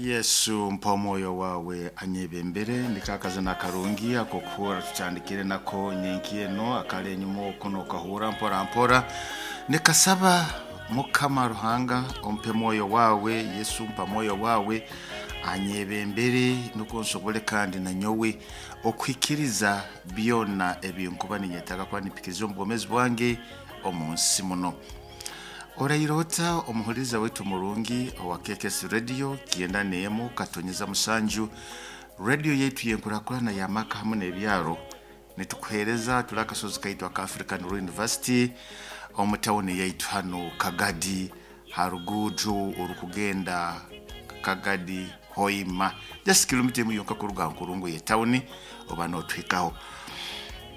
Yesu mpa omwoyo wawe anyebembere. Niko akazina akarungi akokuhura tutandikire nako nyenki eno akali enyuma oku nokahura mpora mpora. Nikasaba Mukama Ruhanga ompe mwoyo wawe. Yesu mpa mwoyo wawe anyebembere, nukwo nsobole kandi nanyowe okuhikiriza byona ebinkuba ninyetaaga kuba nimpikiriza omu bwomezi bwange omu nsi muno. Orairota omuhuliriza waitu murungi owa KKS Radio 91.7, radio yaitu yenkurakurana y'amaka hamu n'ebyaro. Nitukuheereza tuli akasozi kaitu aka African Rural University omu tawuni yaitu hanu Kagadi, ha ruguudo orukugenda Kagadi Hoima, just kilomita emu yonka kuruga ha nkurungu y'etawuni oba notuhikaho.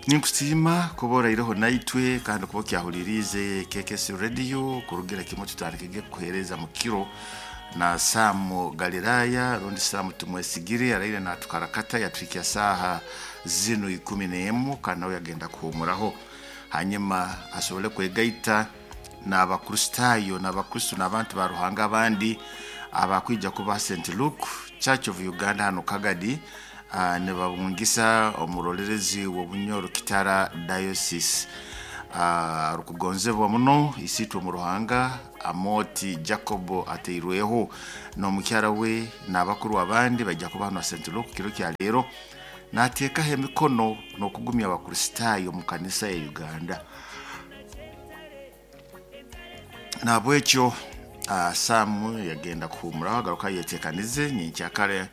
Ninkusiima kuba oraireho naitwe kandi kuba okyahuliriize KKS Radio kurugira kimwe tutandikige kukuheereza mu kiro na Samu Galilaya rundi Samu Tumwesigire araire natukarakata yatuhikya saaha zinu 11, kandi nawe yagenda kuhumuraho hanyuma asobole kwegaita n'Abakristaayo n'Abakristo n'abantu ba Ruhanga abandi abakwija kuba St. Luke Church of Uganda hano Kagadi. Nibabungisa omurolerezi w'Obunyoro Kitara Diocese arukugonzebwa muno isiitwe omu Ruhanga Amoti Jacob ateirweho n'omukyara we n'abakuru abandi baija kuba hano St. Luke kiro kya leero nateekaho emikono n'okugumya Abakristaayo omu kanisa ya Uganda. Nahabwekyo Samu yagenda kuhumuraho agaruka ayetekanize nyenkyakare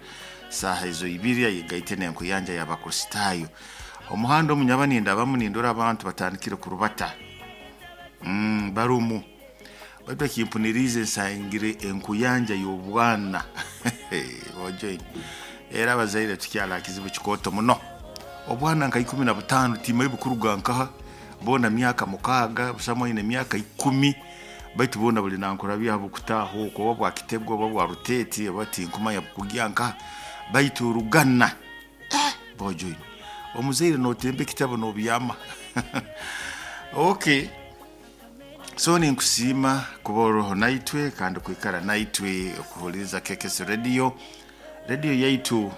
saaha ezo ibiri ayegaite n'enkuyanja y'Abakristaayo. Omuhanda omunyaba nindabamu nindora abantu batandikire kurubata barumu, baitu ekimpuniriize nsangire enkuyanja y'obwana. Ojoine era abazaire tukyali ha kizibu kikooto muno. Obwana nka 15 timanyi bukuruga nkaha, boona myaka 6, busamu aine emyaka 10, baitu boona buli nankurabya bukutaaha oku oba bwa Kitego oba bwa Ruteete oba tinkumanya bukugya nkaha, baitu rugana bojoine omuzaire notemba ekitabu nobyama. Okay, so ninkusiima kuba oroho naitwe kandi kwikara naitwe okuhuliriza KKS Radio, radio yaitu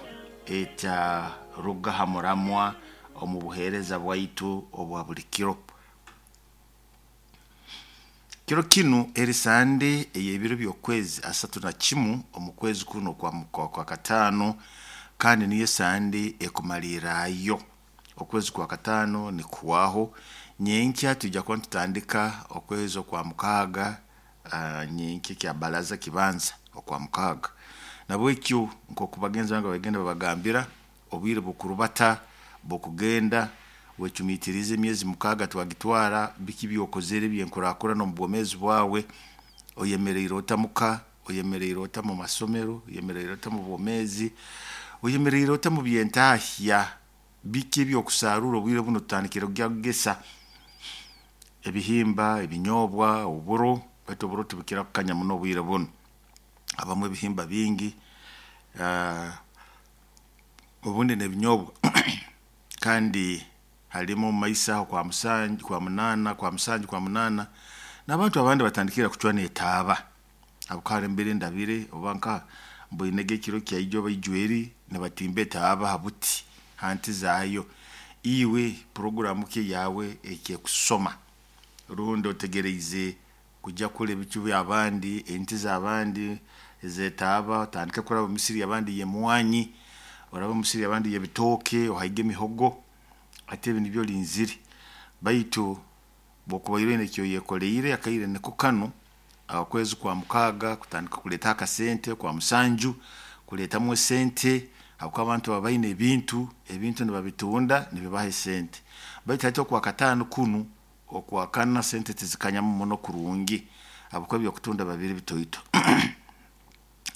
etaruga ha muramwa omu buheereza bwaitu obwa buli kiro. Kiro kinu eri Sande ey'ebiro by'okwezi 31 omu kwezi kuno kwa kataano, kandi niyo Sande ekumalirrayo. Okwezi kwa kataano nikuhwaho. Nyenkya twija kuba nitutandika okwezi okwa mukaaga, nyenkya ekya baraza kibanza okwa mukaaga. Nabwekyo nk'oku bagenzi bange bagenda babagambira, obwire bukurubata bukugenda, wecumiitirize emyezi 6 twagitwara, biki byokozere eby'enkurakurana omu bwomeezi bwawe, oyemeriire ota muka, oyemeriire ota mu masomero, oyemeriire ota mu bwomeezi, oyemeriire ota mu byentahya, biki ebyokusarura obwire bunu tutandikire kugya kugesa ebihimba, ebinyobwa, oburo, baitu oburo tibukira kukanya muno obwire bunu. Habamu ebihimba bingi, obundi n'ebinyobwa kandi halimu omu maiso aho kwa musanju, kwa munaana, kwa musanju, kwa munaana, n'abantu abandi batandikire kucwa n'etaaba. Habwokuba haro embere ndabire oba nkaha mboinege ekiro kyaija oba ijweri nibatimba etaaba ha buti ha nti zaayo. Iwe puroguramu ki eyawe ekyekusoma rundi otegereize kujya kukora ebicu by'abandi, enti z'abandi ez'etaaba, otandike kuraba omu misiri y'abandi y'emwanyi, orabe omu misiri y'abandi y'ebitooke, ohaige emihogo, hati ebi nibyo olinzire. Baitu bw'okuba oine eki oyekoleire akaire niko kanu, okwezi kwa mukaaga kutandika kuleetaho akasente, okwa musanju kuleetamu esente, habwokuba abantu baba baine ebintu, ebintu nibabitunda nibibaha esente. Baitu hati okwa kataano kunu, okwa kana sente tizikanyamu muno kurungi habwokuba ebyokutunda biba biri bitoito.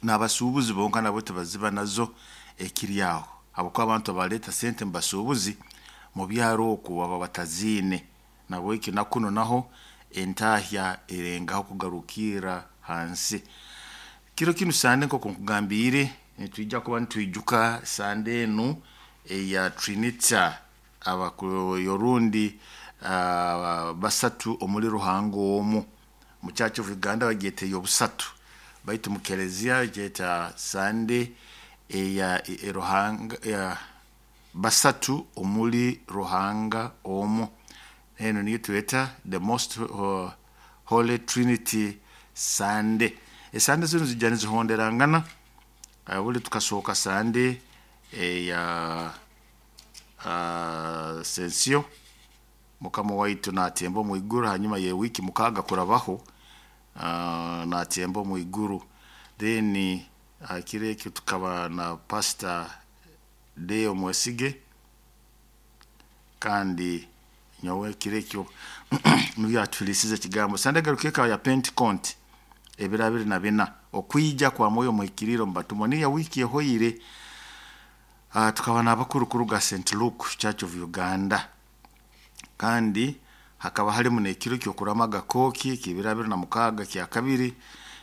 N'abasuubuzi bonka nabo tibaziba nazo ekiri aho, habwokuba abantu abaleeta sente mu basuubuzi mu byaro oku baba bataziine. Nabweki na kunu naho entahya erengaho kugarukirra hansi. Kiro kinu Sande nk'oku nkugambiire, nitwija kuba nitwijuka Sande enu eya Trinita orundi basatu omuli Ruhanga omu. Mu Church of Uganda bagyeta ey'obusatu. Baitu mu kelezia gyeta Sande eya Ruhanga ya basatu omuli Ruhanga omu. Eno niyo tweta the Most Holy Trinity Sunday. Esande zinu zijja nizihonderangana. Buli tukasooka Sande eya Sensio, Mukama waitu natemba omu iguru, hanyuma ye wiiki 6 kurabaho natemba omu iguru. Then kiro ekyo tukaba na Pastor Deo Mwesige, kandi nyowe kiro ekyo nibyo atuhulisize ekigambo. Sande garuka ekaba ya Pentecost, ebiro 24, okwija kwa Mwoyo Muhikiriire omu batumwa, niyo wiiki ehoire. Tukaba n'abakuru kuruga St. Luke Church of Uganda, kandi hakaba harimu n'ekiro ky'okuramaga kooki ky'ebiro 26 kya kabiri,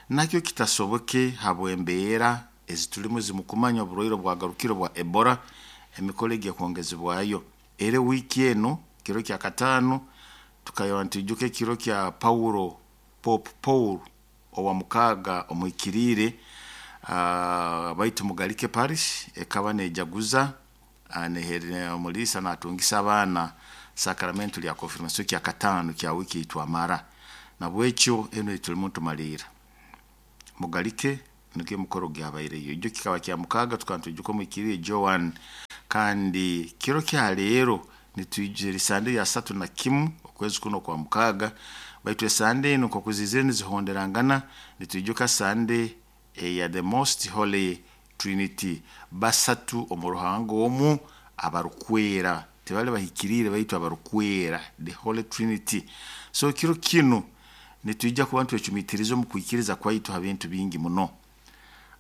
nakyo kitasoboke habw'embeera ezitulimu zimukumanya oburwaire obwagarukire bwa Ebola, emikoro egi ekwongezebwayo. Era wiiki enu kiro kya 5 tukaba nitwijuka ekiro kya Paulo, Pope Paul owa 6 omuhikiriire, baitu Mugalike Parish ekaba nejaguza omuliisa natungisa abaana sacramento lya confirmation kya 5 kya wiiki eitwamara. Nabwekyo enu etulimu ntumaliira Mugalike nikyo emikoro gyabaireyo. Ijo kikaba kya 6 tukaba nitwijuka omuhikiriire Joan. Kandi kiro kya leero nitwijira esande ya 31 okwezi kuno kwa 6, baitu esande enu nkoku zizire nizihonderangana, nitwijuka Sande eya the Most Holy Trinity, basatu omu Ruhanga omu abarukwera, tibali bahikiriire baitu abarukwera, the Holy Trinity. So kiro kinu nitwija kuba nitwecumitiriza omu kwikiriza kwaitu ha bintu bingi muno.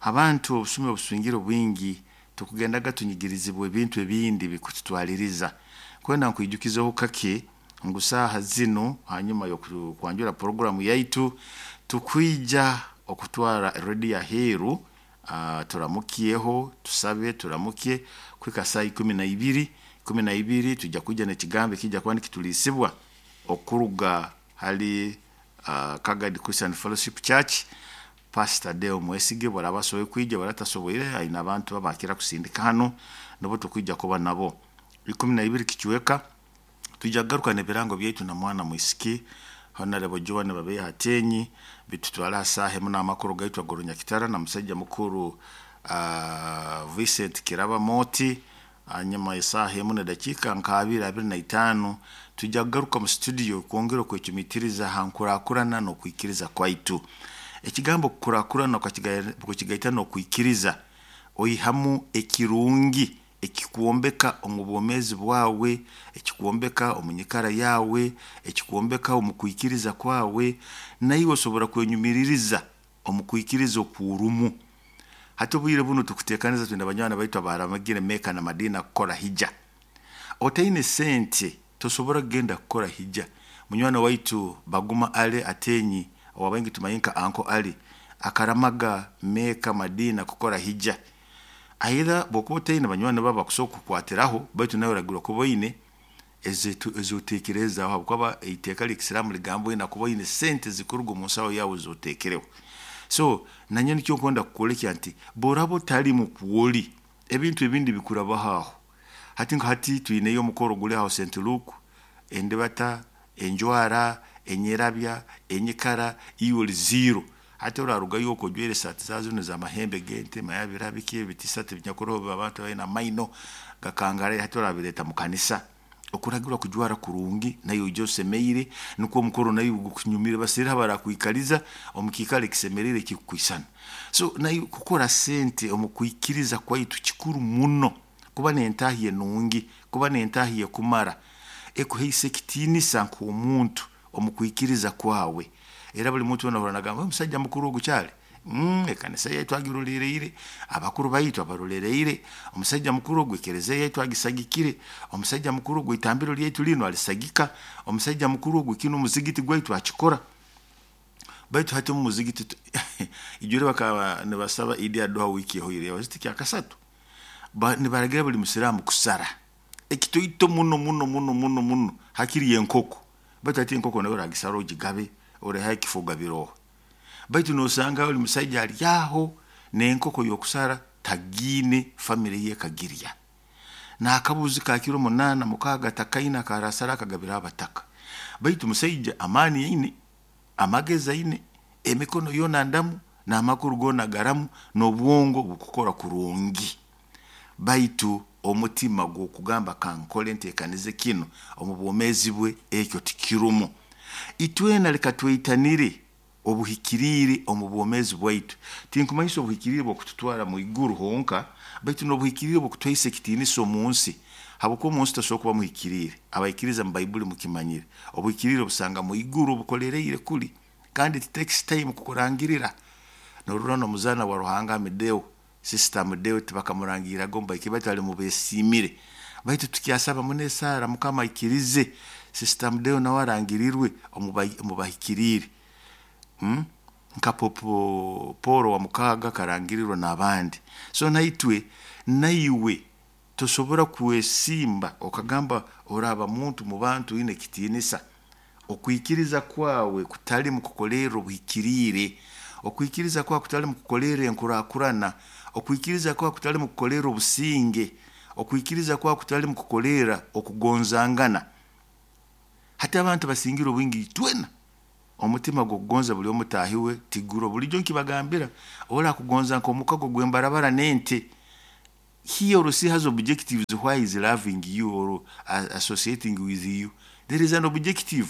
Abantu obusumi obuswingire bwingi tukugendaga tunyigirizibwa ebintu ebindi bikututwaliriza. Kwenda nkwijukizeho kake ngu saaha zinu hanyuma y'okwanjura programu yaitu tukwija okutwara rediyo aheeru, turamukyeho, tusabe turamukye kuhika saaha 12. 12 tujja kwija n'ekigambo ekijja kuba nikituliisibwa okuruga hali Kagadi Christian Fellowship Church. Pastor Deo Mwesige bwaraba asoboire kwija, bwaraba atasoboire aine abantu abakira kusindika hanu nibo tukwija kuba nabo. 12 kicweka tujja kugaruka n'ebirango byaitu na mwana mwisiki Honorable Joan Babeya Hatenyi, bitutwara saaha emu n'amakuru gaitu ag'orunyakitara na musajja mukuru Vincent Kiraba Moti. Hanyuma esaaha emu n'edakiika nka abiri, 25, tujja kugaruka mu studio kwongera okwecumitiriza ha nkurakurana n'okwikiriza kwaitu. Ekigambo kukurakurana okukigaita n'okwikiriza, oihamu ekirungi ekikwombeka omu bwomeezi bwawe, ekikwombeka omu nyikara yawe, ekikwombeka omu kwikiriza kwawe, naiwe osobora kwenyumiririza omu kwikiriza okurumu. Hati obwire bunu tukuteekaniza twine banywani baitu abaramagire Mecca na Madina kukora hija. Otaine sente tosobora kugenda kukora hija. Munywani waitu Baguma Ali Atenyi, owabaingi tumanyi nka Uncle Ali, akaramaga Mecca Madina kukora hija. Aidha bwokuba otaine banywani babo bakusobola kukukwatiraho, baitu nawe oragirwa kuba oine ezoteekerezaho, habwokuba eiteeka ly'ekisiraamu ligamba oine kuba oine sente zikuruga omu nsaho yawe zoteekereho. So nanyowe nikyo nkwenda kukwolekya nti bworaba otali mukwoli, ebintu ebindi bikurabaho aho. Hati nka hati twineyo omukoro guli aho St. Luke, endibata, enjwara, enyerabya, enyikara, iwe oli zero. Hati orarugayo okwo ojwaire esaati za zinu z'amahembe g'ente, manya bira biki ebitisati ebinyakuroho abantu baine amaino gakangaraire, hati orabireeta mu kanisa. Okuragirwa kujwara kurungi naiwe oije osemeire, nukwo omukoro naiwe gukunyumire, baseere abarakwikaliza omu kiikaro ekisemeriire ekikukwisana. So naiwe kukora sente omu kwikiriza kwaitu kikuru muno, kuba n'entaahi enungi, kuba n'entaahi ekumara, ekuhaisa ekitiinisa nk'omuntu omu kwikiriza kwawe. Era buli muntu weena ahurra nagamba omusajja mukuru ogu kyali, ekanisa yaitu agirolereire, abakuru baitu abarolereire, omusajja mukuru ogu ekereziya yaitu agisagikire, omusajja mukuru ogu itambiro lyaitu linu alisagika, omusajja mukuru ogu kinu omuzigiti gwaitu akikora. Baitu hati omu muzigiti ijwire bakaba nibasaba Idi Aduha wiiki ehoire, waziti kya kasatu, nibaragira buli musiraamu kusara ekitoito muno muno muno muno muno hakiri enkoko. Baitu hati enkoko nayo oragisara ogigabe, orehayo ekifo ogabiroho. Baitu nosanga oli musaija ali aho n'enkoko y'okusara tagiine, famire ye ekagirya. N'akabuzi ka kiro 8 6 takaina akarasara akagabira abataka. Baitu musaija amaani aine, amagezi aine, emikono yoona ndamu, n'amaguru goona garamu, n'obwongo bukukora kurungi. Baitu omutima gw'okugamba kankole nteekanize kinu omu bwomeezi bwe ekyo tikirumu. Itwena leka tweitanire obuhikiriire omu bwomeezi bwaitu. Tinkumanyisa obuhikiriire bw'okututwara mu iguru honka, baitu n'obuhikiriire bw'okutuhaisa ekitiinisa omu nsi. Habwokuba omu nsi tosobora kuba muhikiriire. Abaikiriza mu Baibuli mukimanyire. Obuhikiriire obusanga mu iguru obukolereire kuli. Kandi it takes time kukurangirira. Norora n'omuzaana wa Ruhanga Amedeo, Sister Amedeo tibakamurangirraga omu bahikiriire baitu ali mubesiimire. Baitu tukyasaba muno esaara Mukama aikirize Sister Amedeo nawe arangirirwe omu bahikiriire. Nka Pope Paul wa mukaaga akarangirirwa n'abandi. So naitwe, naiwe tosobora kwesimba okagamba oraaba muntu mu bantu oine ekitiinisa. Okwikiriza kwawe kutali mu kukolerra obuhikiriire, okwikiriza kwawe kutali mu kukolerra enkurakurana, okwikiriza kwawe kutali mu kukolerra obusinge, okwikiriza kwawe kutali mu kukolerra okugonzangana. Hati abantu basingire obwingi itwena omutima gw'okugonza buli omu taahi we tiguro. Bulijjo nkibagambira orakugonza nk'omukago gw'embarabara n'ente. He or she has objectives why is loving you or associating with you. There is an objective.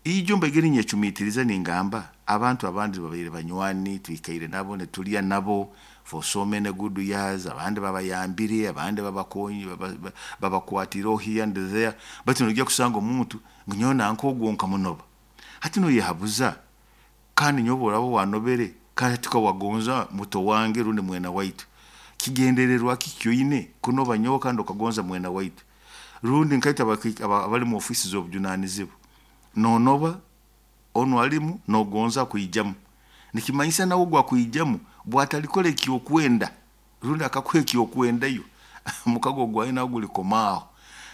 Ijo mbaigere nyecumiitiriza ningamba abantu abandi babaire banywani twikaire nabo nitulya nabo for so many good years, abandi babayambire, abandi babakonyi, babakwatireho here and there, baitu noija kusanga omuntu ngu nyowe nanka ogwo nkamunoba. Hati noyehabuza kandi nyowe oraba wanobere kandi hati wagonza muto wange rundi mwena waitu. Kigendererwa ki kyoine kunoba nyowe kandi okagonza mwena waitu? Rundi nkaita abali mu ofisi z'obujunanizibwa, nonoba onu alimu nogonza kwijamu, nikimanyisa nawe ogwo akwijamu bwatalikora ekyokwenda rundi akakuha ekyokwendayo omukago gwawe nawe gulikomaaho.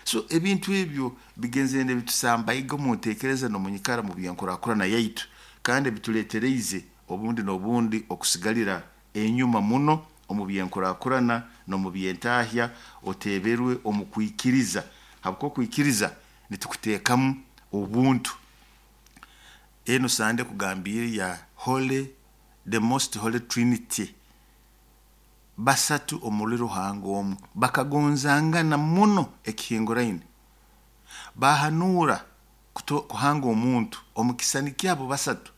So ebintu ebyo bigenzere nibitusambaiga omu nteekereza n'omunyikara mu byenkurakurana yaitu, kandi bituleetereize obundi n'obundi okusigalira enyuma muno omu byenkurakurana n'omu byentahya, oteeberwe omu kwikiriza. Habwokuba okwikiriza nitukuteekamu obuntu. Enu Sande kugambiire ya Holy, the most holy Trinity. Basatu omuli Ruhanga omu bakagonzangana muno ekihinguraine. Bahanuura kuhanga omuntu omu kisani kyabo basatu.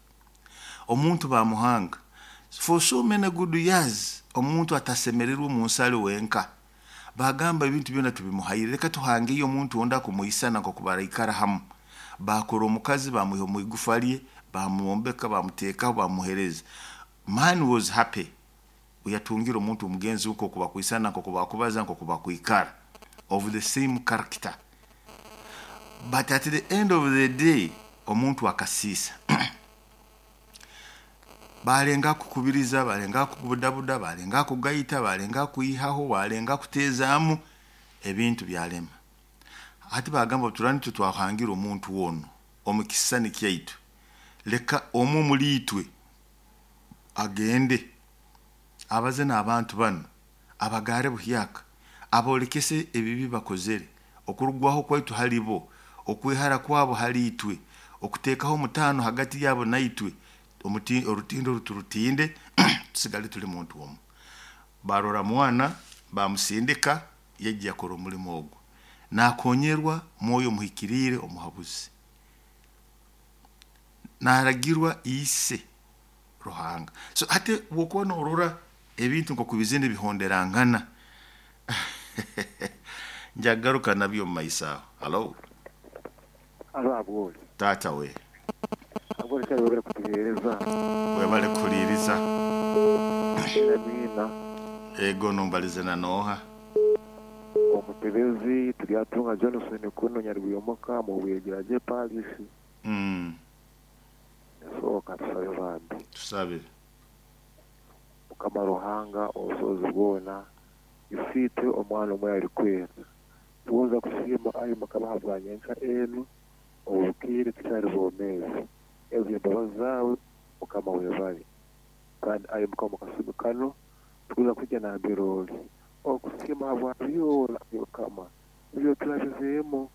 Omuntu bamuhanga. For so many good years omuntu atasemererwe omu nsi ali wenka. Bagamba ebintu byona tubimuhaire, leka tuhangeyo omuntu ondi akumuisana nk'oku baraikara hamu. Bakora omukazi bamuiha omu igufa lye, bamwombeka, bamuteekaho, bamuhereza. Man was happy. Yatungire omuntu omugenzi we nk'oku bakwisana, nk'oku bakubaza, nk'oku bakwikara, of the same character. But at the end of the day omuntu akasiisa. Balenga kukubiriza, balenga kubudabuda, balenga kugaita, balenga kwihaho, balenga kuteezaamu, ebintu byalema. Hati bagamba turani twahangira omuntu wono omu kisisani kyaitu, leka omu omuli itwe agende abaze n'abantu banu, abagaare buhyaka, abolekese ebibi bakozere, okurugwaho kwaitu hali bo, okwehara kwabo hali itwe, okuteekaho omutaano hagati yabo naitwe, orutindo oru turutinde tusigale tuli muntu omu. Barora mwana bamusindika yaija yakora omulimo ogwo, nakonyerwa mwoyo omuhikiriire omuhabuzi, naragirwa ise Ruhanga. So hati bwokuba norora ebintu nk'oku bizina bihonderangana njagaruka nabyo omu maiso aho. Halo. Alo abwoli. Taata we. Abwoli kyali webale kutuheereza. Webale kuhuliiriza. Era mwina. Ego nombalize na nooha? Omutebezi Turyatunga Johnson kuno Nyarwiyomoka mu Bwegiragye Parish. Esooka tusabe bambi. Tusabe. Mukama Ruhanga obusobozi bwona, Isiitwe Omwana omwe alikwera, tugonza kusiima ayi Mukama habwa nyenkya enu, obukiire tukyali bomeezi. Ezo embabazi zaawe. Mukama webale. Kandi ayi Mukama kasumi kano tukuza kujja nambere oli okusiima habwa byona ayi Mukama ebyoturabizeemu,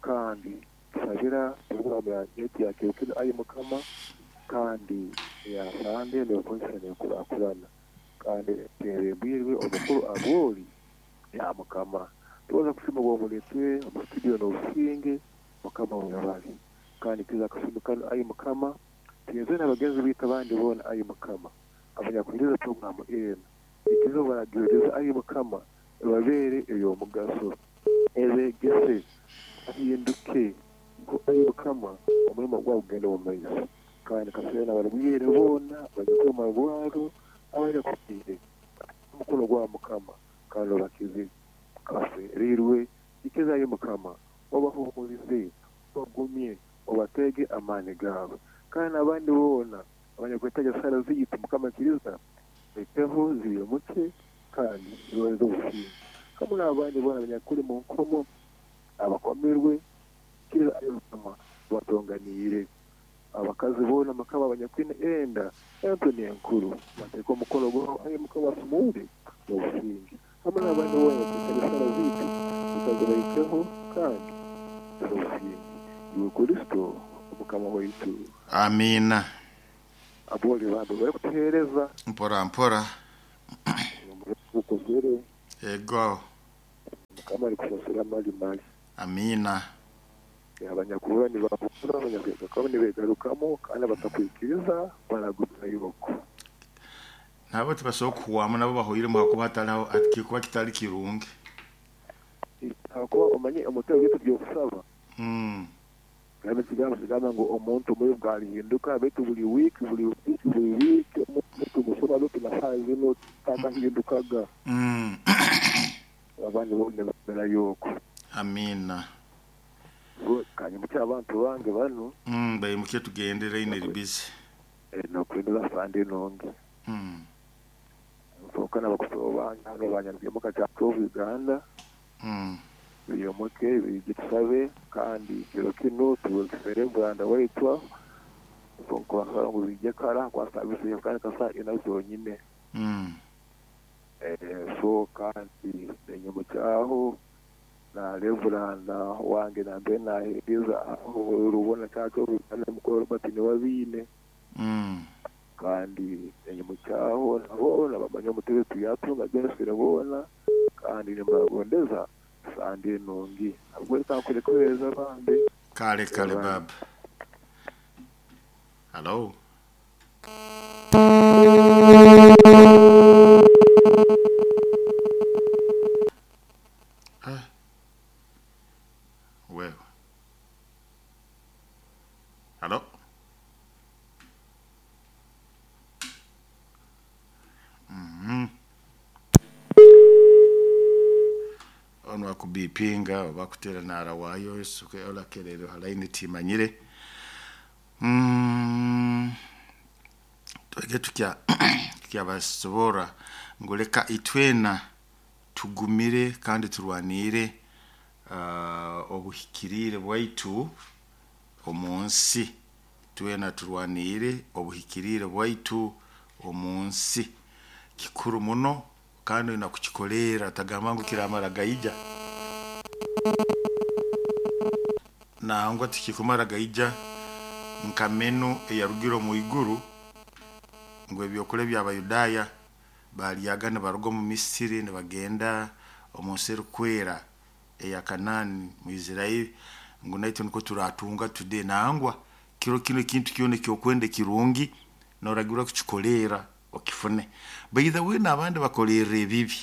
kandi tusabira programu yetu ya kiro kinu ayi Mukama, kandi eya Sande nekozesa nekurakurana, kandi tebembirwe omukuru Abori ya Mukama. Tubaza kusiima obwomuletwe omu studio n'obusinge, Mukama webale. Kandi kiza kasumi kano ayi Mukama, tuyenze n'abagenzi baitu abandi boona ayi Mukama, abanyakuhuriza programu enu, ikiriza obaragihuriza ayi Mukama, ebabeere ey'omugaso, ebegese, bahinduke, nko ayi Mukama omurimo gwawe gugende omu maiso. Kandi kasabire n'abarwaire boona abanyakuli omu marwarro, abanyakufiire, omukono gwawe Mukama, kandi obakize. Abafereirwe, ikiriza ayi Mukama, obahuumurize, obagumye, obateege amaani gaawe. Kandi n'abandi boona abanyakwetaaga esaara zaitu, Mukama ikiriza baiteho ziimuke kandi zibahereze obusinge. Hamu n'abandi boona abanyakuli mu nkomo, abakomerwe, ikiriza ayi Mukama obatonganiire. Abakazi boona Mukama abanyakwine enda ento n'enkuru, bateeke omukono gwawe ayi Mukama basumuure n'obusinge. Hamu n'abandi boona abanyakwetaaga esaara zaitu, ikiriza zibaikeho kandi z'obusinge. Iwe Kristo Omukama waitu. Amiina. Aboli bambi barikutuheereza. Mpora mpora. Omukozere. Ego. Mukama arikusasira mali mali. Amiina. Abanyakuhurra nibahurra, abanyakwegarukamu nibegarukamu, kandi abatakwikiriza baragumira iboko. Nabo tibasobola kuhwamu, nabo bahoiremu hakuba hatariho kikuba kitali kirungi. Hakuba omanye omutego gwaitu by'okusaba. Kandi ekigambo kigamba ngu omuntu omubi bwalihinduka, baitu buli wiiki, buli wiiki, buli wiiki omuntu tumusoma, baitu na saaha zinu takahindukaga. Abandi bo nibamerayo okwo. Amiina. Kanyimukye abantu bange banu. Baimuke tugende, line eri busy. Nokuhindura Sande nungi. Nsooka n'abakusobo bange hanu banyarwimuka Church of Uganda. Biyomoke biije tusabe, kandi kiro kinu tuwekisere Branda waitu nkubasaba ngu biije kara kwa service yokutandika saa ina zonyine. So kandi nenyimukyaho na Reveranda wange nambere naheereza aho Rubona Church of Uganda mukuru Robert Niwabiine. Kandi nenyimukyaho nabo nabamanya omutebe tuyatunga Johnson boona, kandi nimbagondeza Sande nungi. Nabwo reka nkureke bambe. Kale kale baba. Hello. Ah. Wewe. Hello. Ono akubipinga oba kutera nara wayo suke olakerero halaini timanyire. Twege tukya tukyabasobora ngoleka itwena tugumire kandi turwanire obuhikirire bwaitu omunsi. Twena turwanire obuhikirire bwaitu omunsi. Kikuru muno kandi olina kukikolera tagamba ngu kiramara gaija. Nangwa tikikumara gaija nka menu eyarugire omu iguru ngu ebyokulya by'Abayudaaya balyaga nibaruga omu Misiri nibagenda omu nsi erikwera eya Kanaani mu Israeli, ngu naitwe nikwo turatunga today. Nangwa kiro kinu ekintu kyona ekyokwenda ekirungi noragirwa kukikolera okifune. By the way, n'abandi bakolerera ebibi.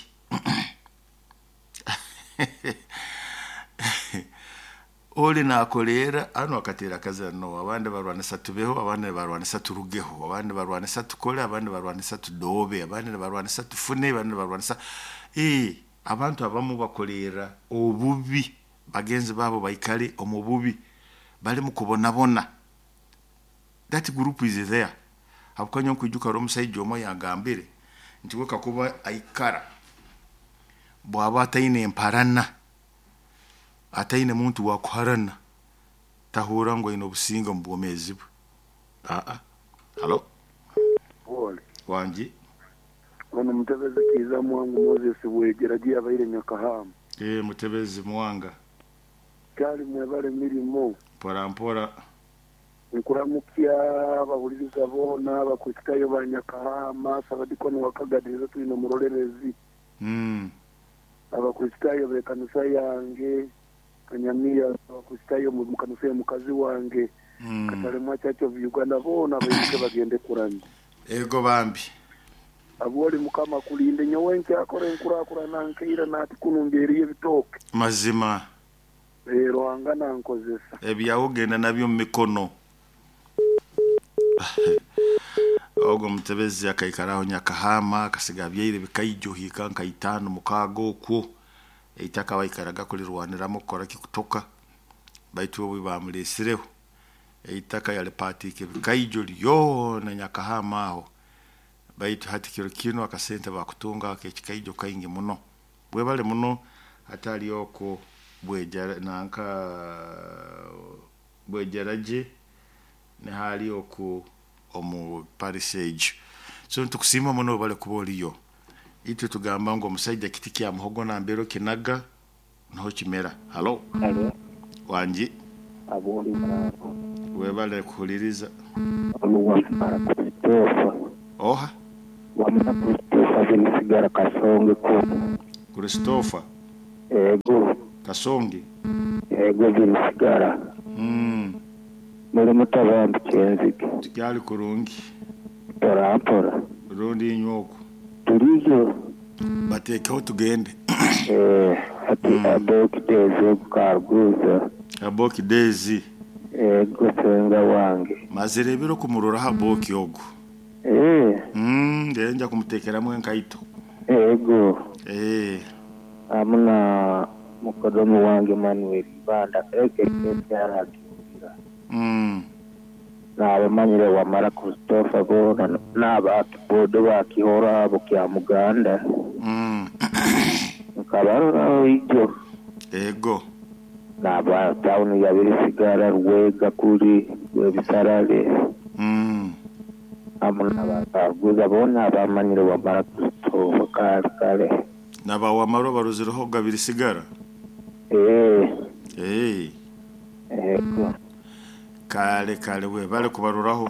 Oli nakolera ano akatera akazira no abandi barwanisa tubeho, abandi barwanisa turugeho, abandi barwanisa tukole, abandi barwanisa tudobe, abandi barwanisa tufune, abandi barwanisa abantu abamu bakolera obubi, bagenzi babo baikale omu bubi, bali mu kubonabona. That group is there. Habwokuba nyowe nkwijuka hariho omusaija omwe yangambire nti we kakuba aikara bwaba ataine emparana, ataine muntu wakuharana, tahurra ngu aine obusinge omu bwomeezi bwe. Halo. Wangi. Ono mutebezi Kiiza Mwangu Moses Bwegera abaire Nyakahama. Mutebezi Mwanga. Kyali mwebale mirimo. Mpora mpora. Nkuramukya abahuliriza boona Abakristaayo ba Nyakahama, Sabadikoni wa Kagadiriza twine omurolerezi. Abakristaayo b'ekanisa yange Kanyamiya, Abakristaayo mu kanisa ya mukazi wange Katalemwa Church of Uganda boona baimuke bagende kuramya. Ego bambi. Abwoli Mukama akulinde nyowe nkyakora enkurakurana nkeira nati kunu mbyeriyo ebitooke. Mazima. Ruhanga nankozesa. Ebyawe ogenda nabyo mu mikono. Ogwo mutebezi akaikaraho Nyakahama akasiga abyaire bikaijo hika nka 5 6 okwo. Eitaka baikaraga kulirwaniramu kukora kikutoka. Baitu obu bamulesireho eitaka yalipatike bikaijo lyona Nyakahama aho. Baitu hati kiro kino akasente bakutunga ak'ekikaijo kaingi muno. Bwebale muno hatali okwo bwejara nanka bwejaraje nihali oku omu parisage. So nitukusiima muno bale kuba oliyo. Itwe tugamba ngu omusaija kiti kya muhogo nambero kinaga niho kimera. Halo. Halo. Wangi. Aboli muraro. Webale kuhuliriza. Wamara Christopher. Oha. Wamara Christopher binisigara Kasonge ko. Christopher. Ego. Kasonge. Ego binisigara. Muri mutabambi kyenzige. Tukyali kurungi. Mpora mpora. Rundi inywoko. Turiyo. Batekeho tugende. Ati aboki deze kukaguza. Aboki dezi. Ego senga wange. Mazire ebiro kumurora aboki ogu. Ndenja kumutekeramu enkaito. Ego. Amuna mukodomu wange Manuel Banda eke kyaragira. Nabamanyire wamara Christopher bona n'abakibodo bakihora abo kya Muganda. Nkabarora ijo. Ego. Naba town ya Birisigara Rwega kuri Rwebisarare. Amuna bakaguza bona abamanyire wamara Christopher kale kale. Naba wamaro baruzireho Gabirisigara. Ego. Kale kale we bale kubaruraho.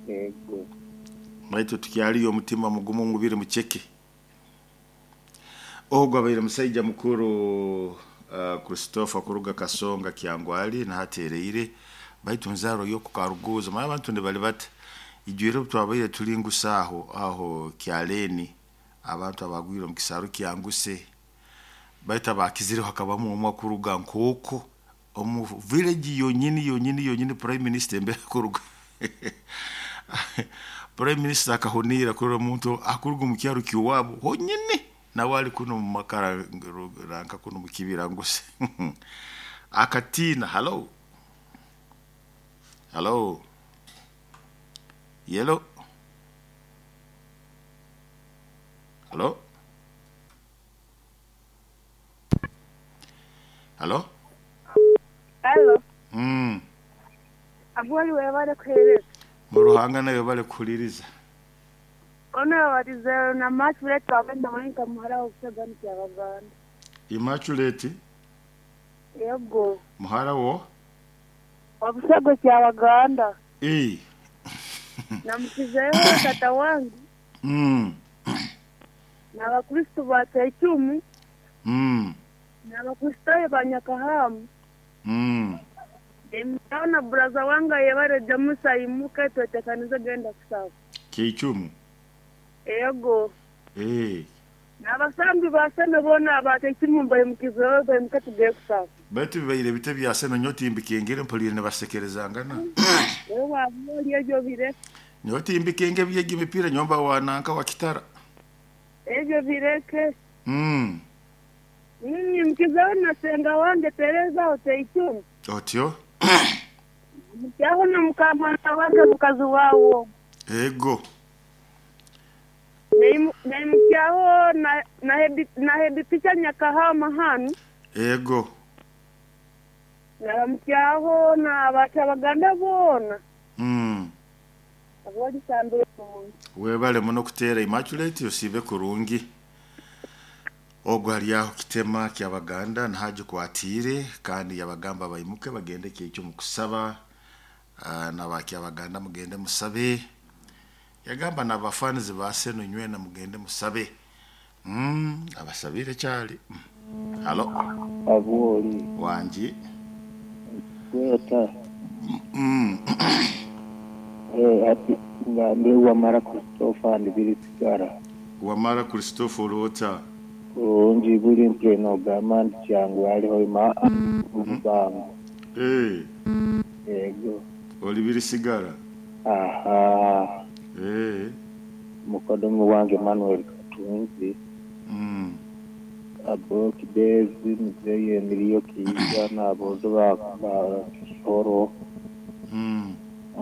Ego. Baitu tukyaliyo omutima mugumu ngubire mucheke. Ogwo abaire musaija mukuru Christopher kuruga Kasonga Kyangwali na hatereire baitu nzaro yo kukaruguza mara abantu ne bali bati ijwire twabaire tulingusa aho aho kyaleni abantu abagwire mu kisaro kyanguse baita bakizire hakabamu omwa kuruga nkoko omu village yonyini yonyini yonyini prime minister mbere kuruga prime minister akahonira kuri omuntu akuruga mu kyaro kiwabo honyini nawali kuno mu makara ranka kuno mu kibira nguse akatina. Hello. Hello. Yellow. Hello. Hello. Hello. Abwali webale kuhereza. Muruhanga nayo bale kuhuliriza. Ono watize na Immaculate wabenda mwenka muhara wa Busagani kya Baganda. Immaculate? Yego. Muhara wo? Wa Busago kya Baganda. Na mkizeyo tata wangu. Na Bakristo ba Taichumu. Na Bakristo ba Nyakahamu. Ndimtaona braza wanga yebare Jamusa imuke twetekanize genda kusaba. Kichumu. Ego. N'abasambi baseme bona abatekimu mbayimukizeyo bayimuke tugiye kusaba. Baitu bibaire bite byaseme nyotimbikengere mpulire nibasekerezangana. Wewe wabuli ebyo bireke. Nyotimbikenge byegi mipira nyomba wananka wa kitara. Ebyo bireke. Mimi mkizeyo nasenga wange Tereza oteichumu. Otyo? Mukyaho na mukamana wange mukazi wawo. Ego. Naimukyaho na hebi picha Nyakahama hanu. Ego. Na mukyaho na batabaganda bona. Aboli sambe Webale muno kuteera Immaculate, osiibe kurungi. Ogwo ali aho kitema kyabaganda nahagikwatiire, kandi yabagamba baimuke bagende kyekyo mukusaba. Nabakyabaganda mugende musabe. Yagamba nabafanizi ba Seno nywena mugende musabe. Abasabire kyali. Halo. Abwoli. Wangi. Kweta. Ati ngambe Wamara Christopher ndibiri sigara. Wamara Christopher olota. Kurungi buli mpleno gamba nti kyangu haliho ima obubango. Yego. Oli biri sigara. Aha. Mukodomi wange Manuel Katunzi. Abo Kibezi mzee Emilio Kiiza n'abozo ba Kisoro.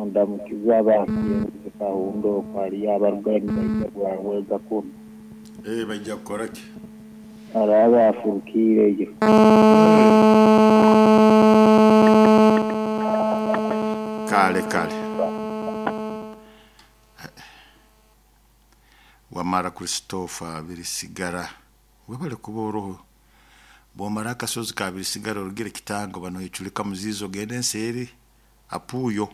Ndamukiza abakinzi Kahundo kwali abarugayo nibaija bwahweza kuno. Baija kukora ki? Araba afurukiireyo. Kale kale. Wamara Christopher birisigara. Webale kuba oroho. Bwomara akasozi ka birisigara orugire kitango bano ichulika muzizo gende enseeri apuyo.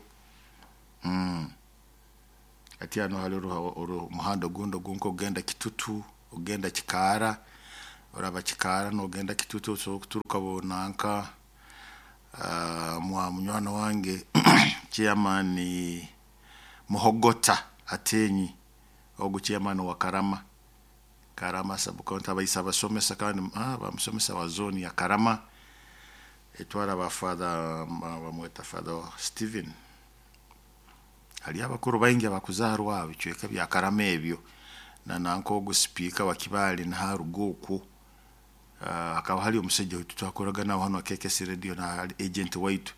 Ati hano hari omuhanda ogundi ogunka ogenda Kitutu, ogenda Kikaara, oraba Kikaara nogenda Kitutu osobola kuturuka bonanka mwa munywani wange chairman Muhogota Atenyi, ogu chairman wa Karama. Karama sub-county abaisa abasomesa kandi bamusomesa wa zone ya Karama etwara ba father bamweta Father Steven. Hali abakuru baingi abakuzaarwa bicweka bya Karama ebyo na nanka ogu speaker wa Kibaale naharuga okwo. Hakaba hari omusajja waitu twakoraga nawe hano KKS Radio na agent waitu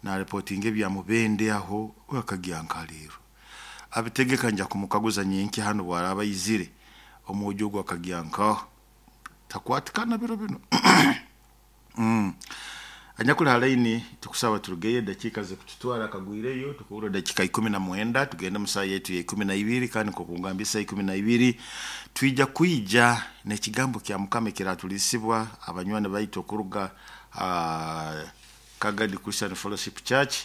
na reporting ebya Mubende aho wakagira nka leero abitegeka nja kumukaguza nyenki hano bwaraba yizire omwojo ogwo akagira nkaho takwatikana biro bino. Anyakuli halaini tukusaba turugeye dakika zikututwara akagwireyo tukubura dakika 19 tugende musaa yetu ya 12 kandi nkokungambisa 12 twija kwija n'ekigambo kya Mukama kiratulisibwa abanywani baitu okuruga Kagadi Christian Fellowship Church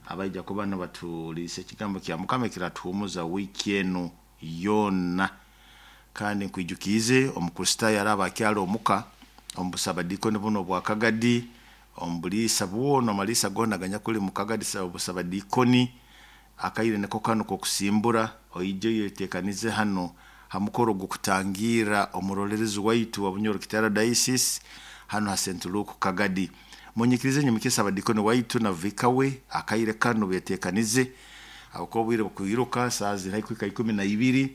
abaija kuba nibatulisa ekigambo kya Mukama kiratuhumuza wiki eno yona. Kandi nkwijukiize Omukristaayo araba akyali omuka omu busabadikoni buno bwa Kagadi, omu buliisa bwona amaliisa goona aganyakuli mu Kagadi obusabadikoni akaire niko kanu kokusimbura oije oyetekanize hano ha mukoro gw'okutangira omurolerezi waitu wa Bunyoro Kitara Diocese hano ha St. Luke Kagadi. Munyikirize nyimukisa abadikoni waitu na vikawe akaire kanu betekanize abakuba obwire bukwiruka saa ziri haihi 12.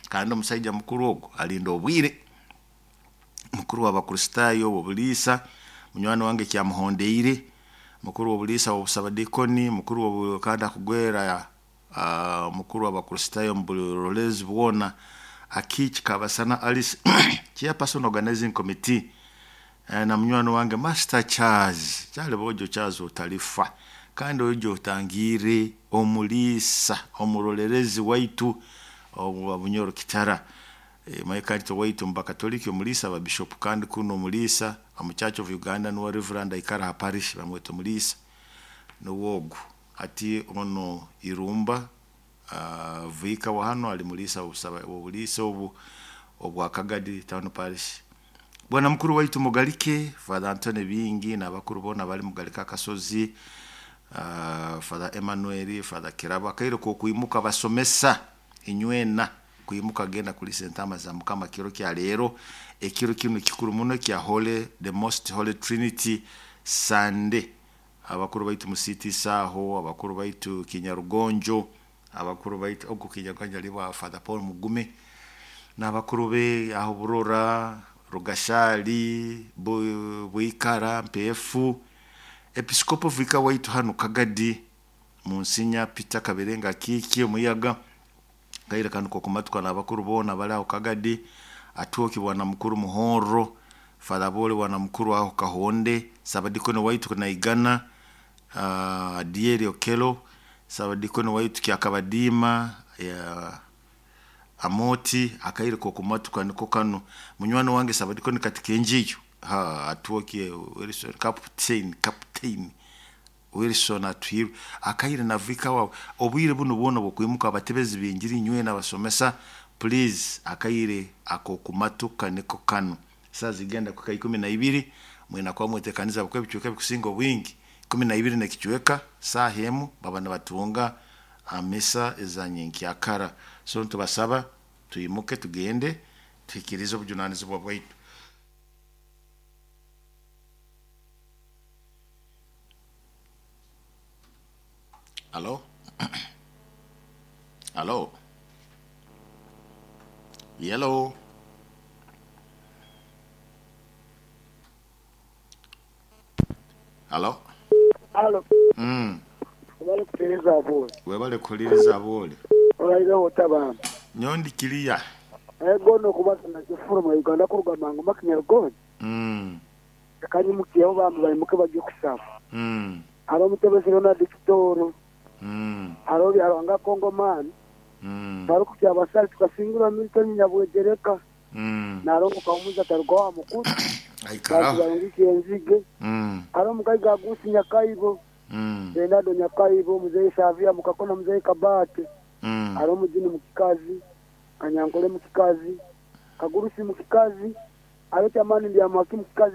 Kandi omusaija mukuru ogwo alinda obwire mukuru w'Abakristaayo w'obuliisa munywani wange kyamuhondeire mukuru w'obuliisa w'obusabadikoni mukuru kandi akugwera mukuru w'Abakristaayo mu burolezi bwona Akiiki Kabasana Alice chairperson organizing committee na munywani wange Master Charles Charles bojo Charles otalifa kandi ojo otangire omuliisa omurolerezi waitu owa Bunyoro Kitara. Maikantito waitu mubakatoliki omuliisa ba bishop kandi kuno omuliisa omu Church of Uganda nuwe Reverend aikara ha parish bamweta omuliisa nuwogu ati ono Irumba vika wa hano ali muliisa obuliisa obu obwa Kagadi Town Parish. Bwana mukuru waitu Mugalike Father Anthony Bingi n'abakuru bona bali Mugalike akasozi, Father Emmanuel, Father Kirabo akaire ko kwimuka basomesa inywena kwimuka genda kulisa entama za Mukama kiro kya leero ekiro kino kikuru muno kya Holy the Most Holy Trinity Sunday. Abakuru baitu musiti saho, abakuru baitu Kinyarugonjo, abakuru baitu ogu Kinyarugonjo ali Father Paul Mugume n'abakuru be aho Burora, Rugashali, Bwikara, Mpefu, Episikopo vika waitu hano Kagadi Monsinya Peter Kaberenga Kiki omuyaga kaire kanu kokumatwa n'abakuru bona bali aho Kagadi atuoki bwana mukuru Muhoro, Father Bole bwana mukuru aho Kahonde, Sabadikono waitu kunaigana, Adieri Okelo Sabadikoni waitu Kyakabadiima ya Amoti, akaire kokumatuka niko kanu. Munywani wange Sabadikoni Katikenjiyo ha atuokie Wilson captain Wilson Atuhirwe, akaire navika wawe obwire buno bwona bwokwimuka abatebezi b'enjiri nywe n'abasomesa, please, akaire akokumatuka niko kanu. Saa zigenda kuka 12, mwina kwa mwetekaniza bukwe ebicweka bikusinga obwingi 12 nekicweka saaha emu baba nibatunga amisa ezanyenkyakara. So ntubasaba tuyimuke tugende tuhikirize obujunanizibwa bwaitu. Alo, alo, yellow. Alo. Alo. Bali kutereza abo. Webale kuhuliriza aboole. Olaireho otabamba. Nyondi kiriya. Ego nokubasa nakifuru mu Uganda kuruga mangu makinyarugoni. Kanyimukiyeho bambi bayimuke bajye kusaba. Hariho omutebezi Ronald Kitoro. Hariho Byarwanga Kongomani. Hariho kukyabasari tukasingura Milton Nyabwegereka. Narongo kaumuza taruga wa mukuru. Aikaraho. Barungikiye enzige. Hariho omukazi Agusi Nyakaibo. Bernardo Nyakaibo, Mzee Savia Mukakona, Mzee Kabate. Hariho omujini mukikazi, Kanyankole mukikazi, Kagurusi mukikazi, hariho Kyamani Ndyamwaki mukikazi.